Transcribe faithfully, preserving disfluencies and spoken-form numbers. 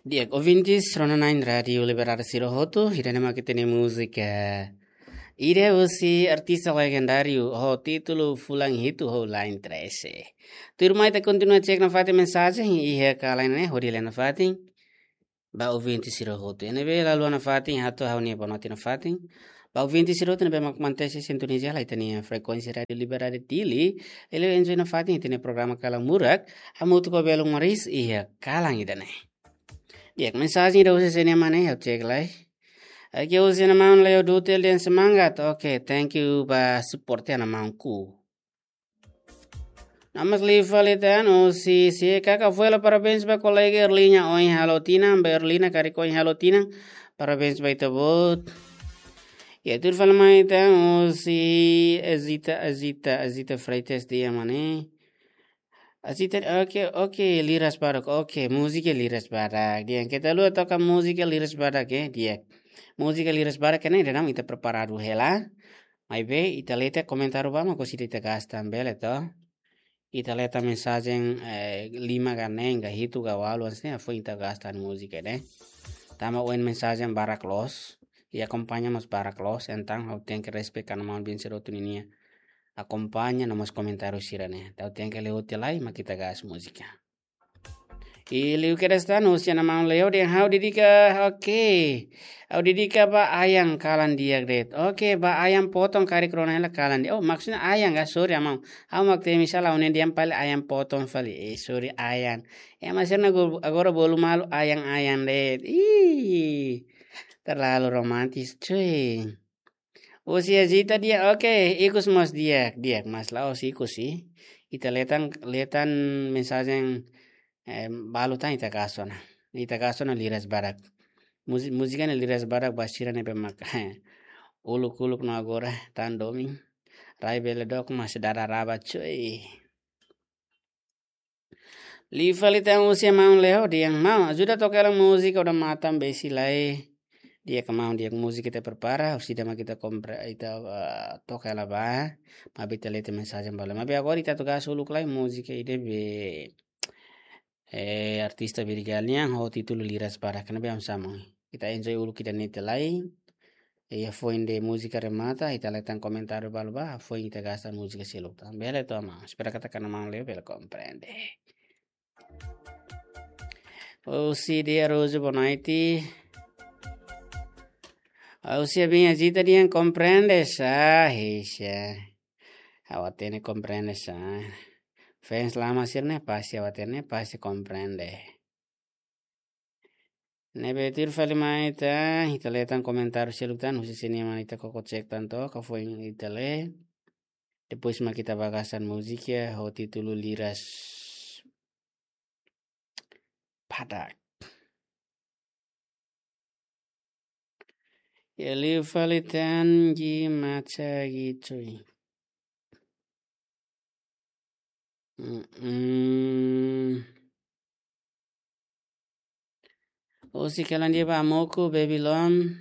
Di'ak, ouvintes rona na'in Rádiu Liberdade sira hotu, ida-ne'e mak ita-nia múzika ida husi artista legendáriu ho títulu Fulan Hitu ho Lain Trese. Tuirmai ita kontinua cek nafatin mensajen iha kalan ne'e, hodi lee nafatin ba ouvinte sira hotu. Ne'ebé la haluha nafatin hato'o ha'u-nia boa noite nafatin ba ouvinte sira hotu ne'ebé mak mantesi sintoniza hela ita-nia frekuénsia Rádiu Liberdade Dili, hodi enjoy nafatin ita-nia programa Kalan Murak, hamutuk ho Belun Maris iha kalan ida-ne'e. Di'ak, mensajen ida husi sé-nia mane, ha'u cek lai. Aqui husi Ana Maun Leo Dutel dehan semangat. Oke, thank you ba support ya Ana Maunku. Namas liu fali tan husi C K K Fuela, parabéns ba kolega Erlina ohin halo tinan, ba Erlina karik ohin halo tinan. Parabéns ba ita-boot. Ya, tuir fali mai tan husi Azita, Azita, Azita Freitas dehan mane. Azita, oke, oke, liras badak, oke, múzika liras badak. Di'ak, keta haluha toka múzika liras badak, eh, di'ak. Múzika liras badak ne'e ida-ne'e mak ita preparadu hela. Maibé, ita lee tiha komentáriu ba mak husi ita gasta bele to. Ita lee tiha mensajen, eh, lima ka neen ka hitu ka ualu, hanesan ne'e, hafoin ita gasta múzika ne'e. Tanba ohin mensajen barak loos, i akompaña mós barak loos, entaun ha'u tenke respeita Ana Maun Bin Sirotu ninia akompaña no mós komentáriu sira-ne'e. Ha'u tenke lee hotu lai, mak ita gasta múzika. I liu kedas tan husi Ana Maun Leo dehan ha'u dedika, oke. Ha'u dedika ba Ayan, kalan di'ak de'it. Oke, ba Ayan Potong karik rona hela, kalan di'ak. Oh, maksudnya Ayan ka, sorry Ana Maun. Ha'u mak temi sala, ha'u-nia dehan fali Ayan Potong fali. Eh, sorry Ayan. Eh, maksudnya agora, agora bolu malu Ayan, Ayan de'it. Ih, terlalu romantis, cuy. Husi Azita dehan, oke, ikus mós di'ak, di'ak, mas la'ós ikus sih. Ita lee tan, lee tan mensajen, eh, balu tan ita gasta ona. Ita gasta ona liras badak. Múzi-, múzika ne'e liras badak ba sira ne'ebé mak uluk-uluk no agora tan domin. Rai bele dook mas dada raba, cuy. Liu fali tan husi Ana Maun Leo dehan, Maun, ajuda toka hela múzika Odamatan Besi Lae. Di'ak Ana Maun, di'ak, múzika ita prepara, husi ida mak ita kompre-, ita, eh, toka hela ba. Maibé ita lee tiha mensajen balu. Maibé agora ita atu gasta uluk lai múzika ida be, eh, artista Birigal nian ho títulu Liras Badak, ne'ebé am sama. Ita enjoy uluk ida-ne'e tiha lai. I hafoin de'it múzika remata, ita lee tan komentáriu balu ba, hafoin ita gasta múzika seluk tan. Bele to, Ana Maun? Espera katak Ana Maun Leo bele komprende. Husi Dia Rojo, boa noite. Husi Abinha Zita dehan komprende sá, hehe. Ha'u hatene komprende sá. Fans lama sira-ne'e pasti ha'u hatene, pasti komprende. Ne'ebé tuir fali mai tan, ita lee tan komentáriu seluk tan, husi sini mana ita koko cek tan to, hafoin ita lee. Depois mak ita ba gasta múzika ho títulu Liras Badak. Ya, liu fali tan gi maca gi cuy. Mm-mm. Husi kalan di'ak ba Amoku, Babylon.